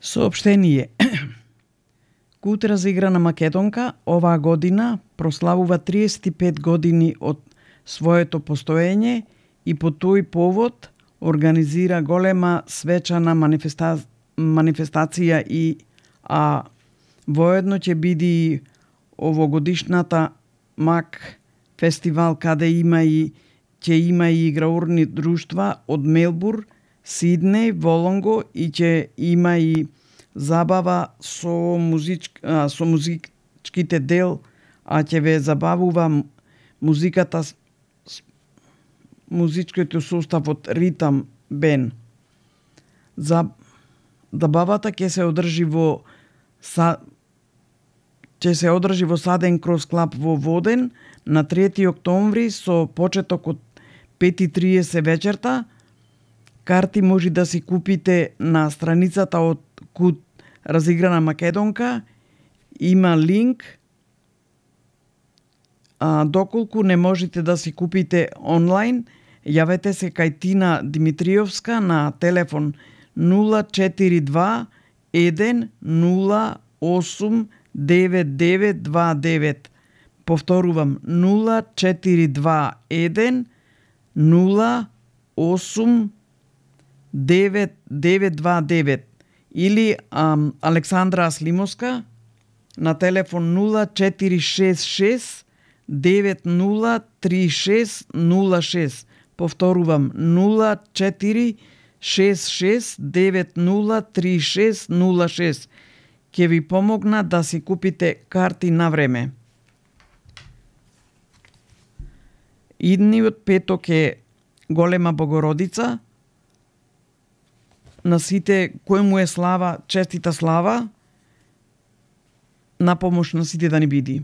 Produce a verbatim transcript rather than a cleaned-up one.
Соопштение. Кут разиграна Македонка оваа година прославува триесет и пет години од своето постоење и по тој повод организира голема свечана манифеста... манифестација и а воедно ќе биде овогодишната МАК фестивал каде има и ќе има и играурни друштва од Мелбур, Сиднеј, Волонго и ќе има и забава со музичк, а, со музичките дел, а ќе ве забавува музиката, музичкиот состав од Ритам Бен. За забавата ќе се одржи во са ќе се одржи во Саден Крос Клаб во Воден на трети октомври со почеток од пет и триесет вечерта. Карти може да си купите на страницата од Кут разиграна Македонка. Има линк. А, доколку не можете да си купите онлайн, јавете се кај Тина Димитриевска на телефон нула четири два еден нула осум девет девет два девет. Повторувам нула четири два еден нула осум девет девет два девет или ам, Александра Аслимовска на телефон нула четири шест шест девет нула три шест нула шест. Повторувам нула четири шест шест девет нула три шест нула шест. Ќе ви помогна да си купите карти на време. Идниот петок е Голема Богородица. На сите кој му е слава, честита слава, на помош на сите да ни биди.